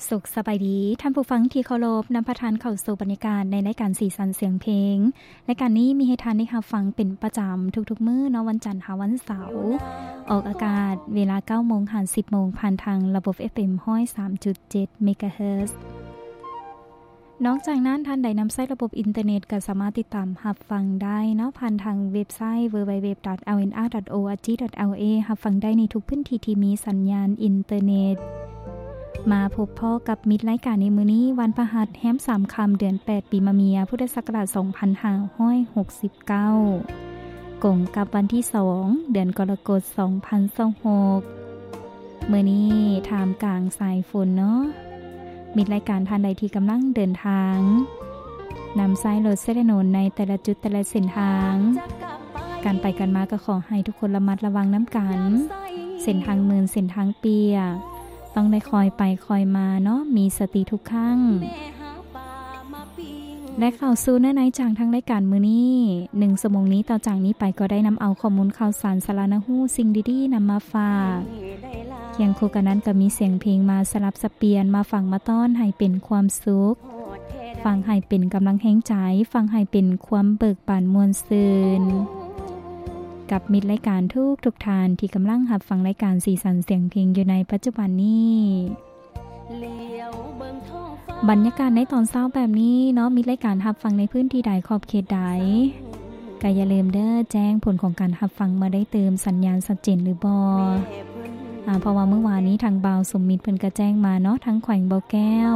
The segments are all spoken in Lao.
ສຸກສະບາຍດີ ທ່ານຜູ້ຟັງທີ່ເຄົາລົບ, ນຳພາທ່ານເຂົ້າສູ່ບັນຍາກາດໃນລາຍການສີສັນສຽງເພງ. ລາຍການນີ້ມີໃຫ້ທ່ານໄດ້ຮັບຟັງເປັນປະຈຳທຸກໆມື້ເນາະ, ວັນຈັນຫາວັນເສົາ, ອອກອາກາດເວລາເກົ້າໂມງຫາສິບໂມງ ຜ່ານທາງລະບົບ ເອັຟເອັມ ຮ້ອຍສາມຈຸດເຈັດ ເມກາເຮີດ. ນອກຈາກນັ້ນ, ທ່ານໃດນຳໃຊ້ລະບົບອິນເຕີເນັດ ກໍສາມາດຕິດຕາມຮັບຟັງໄດ້ເນາະ ຜ່ານທາງເວັບໄຊ www.lnr.org.la ຮັບຟັງໄດ້ໃນທຸກພື້ນທີ່ທີ່ມີສັນຍານອິນເຕີເນັດ. ມາພົບພໍ້ກັບມິດລາຍການໃນມື້ນີ້, ວັນພະຫັດ ແຮມສາມຄ່ຳ ເດືອນແປດ ປີມະເມຍ ພຸດທະສັກກະລາດ ສອງພັນຫ້າຮ້ອຍຫົກສິບເກົ້າ ກົງກັບວັນທີສອງ ເດືອນກໍລະກົດ ສອງພັນຊາວຫົກ. ມື້ນີ້ທ່າມກາງສາຍຝົນເນາະ, ມິດລາຍການທ່ານໃດທີ່ກຳລັງເດີນທາງ ນຳໃຊ້ລົດໃຊ້ຖະໜົນໃນແຕ່ລະຈຸດແຕ່ລະເສັ້ນທາງ ການໄປການມາກໍຂໍໃຫ້ທຸກຄົນລະມັດລະວັງນຳກັນ. ເສັ້ນທາງມື່ນ ເສັ້ນທາງປຽກ ຕ້ອງໄດ້ຄ່ອຍໄປຄ່ອຍມາເນາະ, ມີສະຕິທຸກຄັ້ງ. ແລະ ເຂົ້າສູ່ເນື້ອໃນຈາກທາງລາຍການມື້ນີ້ ໜຶ່ງຊົ່ວໂມງນີ້ ຕໍ່ຈາກນີ້ໄປກໍໄດ້ນຳເອົາຂໍ້ມູນຂ່າວສານ ສາລະໜ້າຮູ້, ສິ່ງດີໆນຳມາຝາກ. ຄຽງຄູ່ກັນນັ້ນກໍມີສຽງເພງມາສະຫຼັບສັບປ່ຽນ, ມາຟັງມາຕ້ອນໃຫ້ເປັນຄວາມສຸກ, ຟັງໃຫ້ເປັນກຳລັງແຮງໃຈ, ຟັງໃຫ້ເປັນຄວາມເບີກບານມ່ວນຊື່ນ ກັບມິດລາຍການທຸກໆທ່ານທີ່ກຳລັງຮັບຟັງລາຍການສີສັນສຽງເພງຢູ່ໃນປັດຈຸບັນນີ້. ບັນຍາກາດໃນຕອນເຊົ້າແບບນີ້ເນາະ, ມີລາຍການຮັບຟັງໃນພື້ນທີ່ໃດ ຂອບເຂດໃດ ກໍຢ່າລືມເດີ ແຈ້ງຜົນຂອງການຮັບຟັງມາໄດ້ຕື່ມ, ສັນຍານຊັດເຈນຫຼືບໍ່. ອາ ເພາະວ່າມື້ວານນີ້ທາງບ່າວສົມມິດເພິ່ນກໍແຈ້ງມາເນາະ, ທາງແຂວງບໍ່ແກ້ວ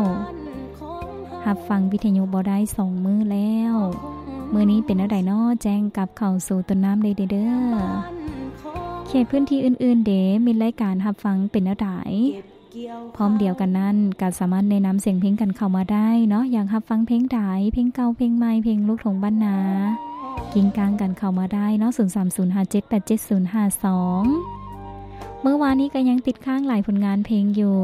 ຮັບຟັງວິທະຍຸບໍ່ໄດ້ສອງມື້ແລ້ວ. ມື້ນີ້ເປັນແນວໃດເນາະ? ແຈ້ງກັບເຂົ້າສູ່ຕົ້ນນ້ຳໄດ້ເດີ. ເຂດພື້ນທີ່ອື່ນໆເດ ມີລາຍການຮັບຟັງເປັນແນວໃດ? ພ້ອມດຽວກັນນັ້ນ ກໍສາມາດແນະນຳສຽງເພງກັນເຂົ້າມາໄດ້ເນາະ, ຢາກຮັບຟັງເພງໃດ, ເພງເກົ່າເພງໃໝ່, ເພງລູກທົ່ງບ້ານນາ, ກິ້ງກ້າງກັນເຂົ້າມາໄດ້ເນາະ, ສູນສາມສູນຫ້າເຈັດແປດເຈັດສູນຫ້າສອງ. ມື້ວານນີ້ກໍຍັງຕິດຄ້າງຫຼາຍຜົນງານເພງຢູ່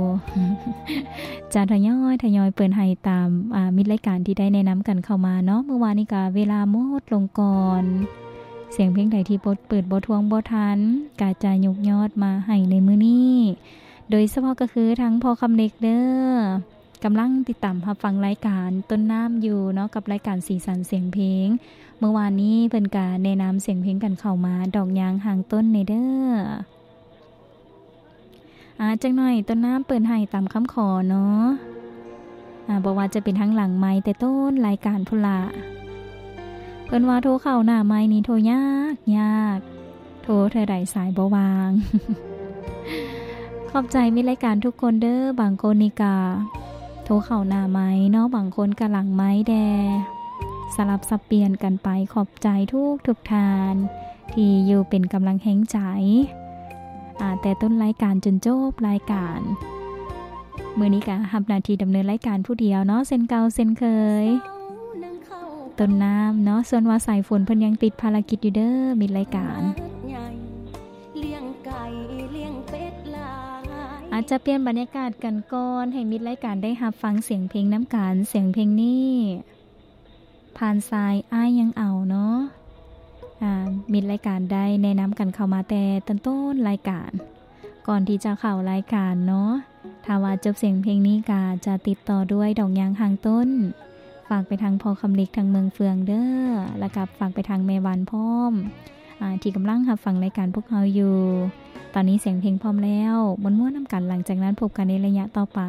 ຈະທະຍອຍ ທະຍອຍເປີດໃຫ້ຕາມ ອາ ມິດລາຍການທີ່ໄດ້ແນະນຳກັນເຂົ້າມາເນາະ. ມື້ວານນີ້ກໍເວລາໝົດລົງກ່ອນ, ສຽງເພງໃດທີ່ບໍ່ເປີດ ບໍ່ທວງ ບໍ່ທັນ ກໍຈະຍົກຍອດມາໃຫ້ໃນມື້ນີ້. ໂດຍສະເພາະກໍຄືທາງພໍ່ຄຳເລັກເດີ ກຳລັງຕິດຕາມຮັບຟັງລາຍການຕົ້ນນ້ຳຢູ່ເນາະ ກັບລາຍການສີສັນສຽງເພງ. ເມື່ອວານນີ້ເພິ່ນກະແນະນຳສຽງເພງກັນເຂົ້າມາ ດອກຍາງຫ່າງຕົ້ນແດ່ເດີ. ອາ ຈັກໜ້ອຍຕົ້ນນ້ຳເປີດໃຫ້ຕາມຄຳຂໍເນາະ. ອາ ບໍ່ວ່າຈະເປັນທາງຫຼັງໄມ ແຕ່ຕົ້ນລາຍການພຸ້ນລະ. ເພິ່ນວ່າໂທເຂົ້າໜ້າໄມນີ້ໂທຍາກ ຍາກ. ໂທເທື່ອໃດສາຍບໍ່ວ່າງ. ຂອບໃຈມິດລາຍການທຸກຄົນເດີ. ບາງຄົນນີ້ກະໂທເຂົ້າໜ້າໄມເນາະ, ບາງຄົນກະຫຼັງໄມແດ່. ສະຫຼັບສັບປ່ຽນກັນໄປ. ຂອບໃຈທຸກໆທ່ານທີ່ຢູ່ເປັນກຳລັງແຮງໃຈ ອາ ແຕ່ຕົ້ນລາຍການຈົນຈົບລາຍການ. ມື້ນີ້ກະຮັບໜ້າທີ່ດຳເນີນລາຍການຜູ້ດຽວເນາະ ເຊັ່ນເກົ່າເຊັ່ນເຄີຍ. ຕົ້ນນ້ຳເນາະ, ສ່ວນວ່າສາຍຝົນເພິ່ນຍັງຕິດພາລະກິດຢູ່ເດີ ມິດລາຍການ. ອາດຈະປ່ຽນບັນຍາກາດກັນກ່ອນ ໃຫ້ມິດລາຍການໄດ້ຮັບຟັງສຽງເພງນຳກັນ. ສຽງເພງນີ້ຜ່ານສາຍອ້າຍຍັງເອົາເນາະ. ອາ ມິດລາຍການໄດ້ແນະນຳກັນເຂົ້າມາແຕ່ຕົ້ນໆລາຍການ ກ່ອນທີ່ຈະເຂົ້າລາຍການເນາະ. ຖ້າວ່າຈົບສຽງເພງນີ້ກະຈະຕິດຕໍ່ດ້ວຍດອກຍາງຫ່າງຕົ້ນ ຝາກໄປທາງພໍ່ຄຳເລັກທາງເມືອງເຟືອງເດີ ແລ້ວກະຝາກໄປທາງແມ່ຫວານພ້ອມ ອາ ທີ່ກຳລັງຮັບຟັງລາຍການພວກເຮົາຢູ່. ຕອນນີ້ສຽງເພງພ້ອມແລ້ວ ມ່ວນໆນຳກັນ. ຫຼັງຈາກນັ້ນພົບກັນໃນໄລຍະຕໍ່ໄປ.